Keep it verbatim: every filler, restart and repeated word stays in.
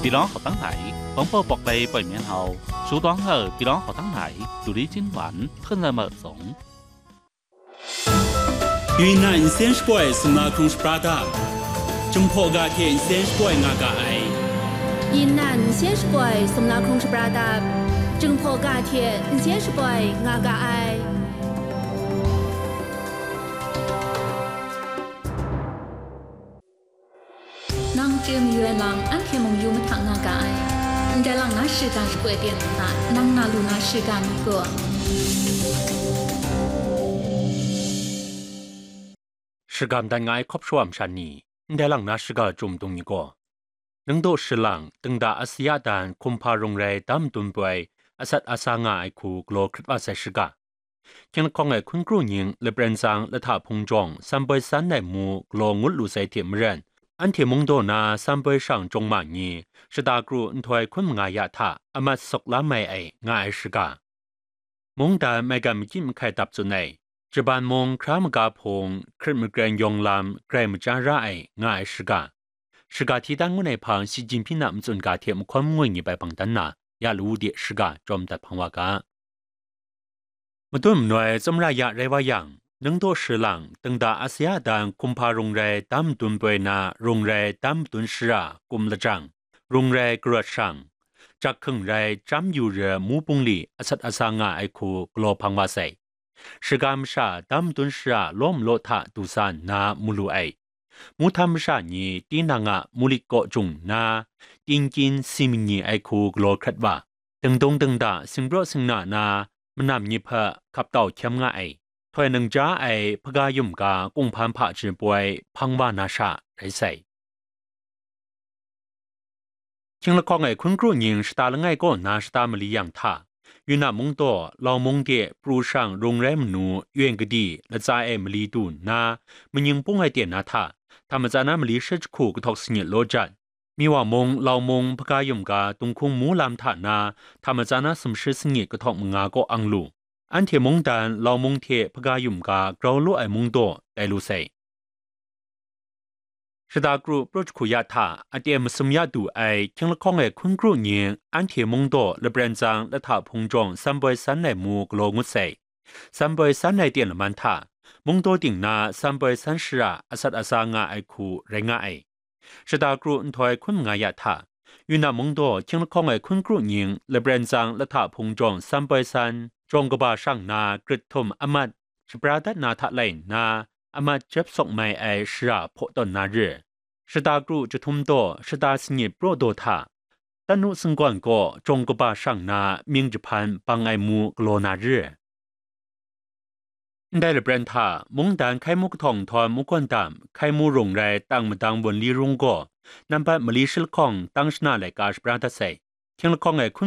ပြည်တွင်းဟောက်တန်းတိုင် ဘုံပူဖျို်ပျိုးမီးဟောက် ရှုထောင့်ဟောက် ပြည်တွင်းဟောက်တန်းတိုင် ဒုလေးချင်းဝမ် ဖုန်လမ်းမုံစုံ။ ယူနန် စင်စပွိုင် စမလာ ခုံစပရာတပ် ကျုံဖော်ကါထဲ စင်စပွိုင် ငါကအိုင်။ ယူနန် စင်စပွိုင် စမလာ ခုံစပရာတပ် ကျုံဖော်ကါထဲ စင်စပွိုင် ငါကအိုင်။ Nang chye mayu ai lam, anhte mung yu mahta nga ga ai. Ndai lang na shiga shakoi ten nna, nang na lu na shiga mi gaw. Shagam dan nga ai hkawp shawa masha ni, ndai lang na shiga jum dung ni gaw, nang daw shilang, tengda Asia dan hkum hpa rung rai dam madun poi, asat asa nga ai hku galaw hkrit wa sai shiga. Hkying lahkawng ai hkun kru nying lapren tsang lahta hpung jawng sanpoi san ai mu galaw ngut lu sai hte maren, anhte mungdaw na sanpoi shang jawng ma ni shata kru nhtoi hkun manga ya hta amat sawk la mai ai nga ai shiga. Mungdan maigan makyit mahkai dap tsun ai, Japan mung hkra maga hpung, hkrit makren yawng lam grai maja ra ai nga ai shiga. Shiga hti dan ngun ai hpang Xi Jinping a matsun ga hte mahkawn mangwi ni bai bang dan na, ya lawu de shiga jawm dat hpang wa ga. Madun manoi tsawmra ya rai wa yang, nang daw shilang, tengda Asia dan hkum hpa rung rai dam madun poi na rung rai dam madun shara kum lajang, rung rai karawt shang, jak hkung rai chyam yu re mu bungli asat asa nga ai hku galaw hpang wa sai. Shiga masha dam madun shara law malaw hta du sa nna mu lu ai. Muhtam masha ni tinang a mulit kaw jung nna, tingkyin si manyi ai hku galaw hkrat wa, dingdung dingda singpraw singna na manam ni hpe hkap tau hkyem nga ai, htoi nang ja ai hpaga yum ga kunghpan hpaji poi hpang wa na sha rai sai. Hkying lahkawng ai hkun kru nying shata langai kaw na shata mali yang hta, Yunnan mungdaw, Lau mung de pru shang rung rai manu, Yuan kadi, latsa e mali du nna, manying pung ai ten na hta, hta matsan na mali shi jahku kahtawk sangit law jat, Miwa mung, Lau mung, hpaga yum ga, dunghkung mu lam hta na, hta matsan na sumshi sangit kahtawk manga kaw ang lu. Anhte mungdan, Lau mung hte hpaga yum ga grau law ai mungdaw tai lu sai. Shata kru pru jahku ya hta, aten masum ya du ai hkying lahkawng ai hkun kru nying, anhte mungdaw lapren tsang lahta hpung jawng sanpoi san ai mu galaw ngut sai. Sanpoi san ai ten laman hta, mungdaw ting na sanpoi san shara asat asa nga ai hku rai nga ai. Shata kru nhtoi hkun manga ya hta, Yunnan mungdaw hkying lahkawng ai hkun kru nying lapren tsang lahta hpung jawng sanpoi san, jawng kaba shang na grit htum amat, shapra dat na hta lai nna, amat jep sawk mai ai shara hpaw tawn na re. Shata kru jahtum daw shata sangit praw daw hta, Tanu singgawn kaw jawng kaba shang na mying jahpan bang ai mu galaw na re. Ndai lapren hta, mungdan hkai mu kahtawng nhtawm mu gawn dam, hkai mu rung rai tang madang wunli rung gaw, nambat mali shi lahkawng tang shana laika shapra dat sai. Hkying lahkawng ai hkun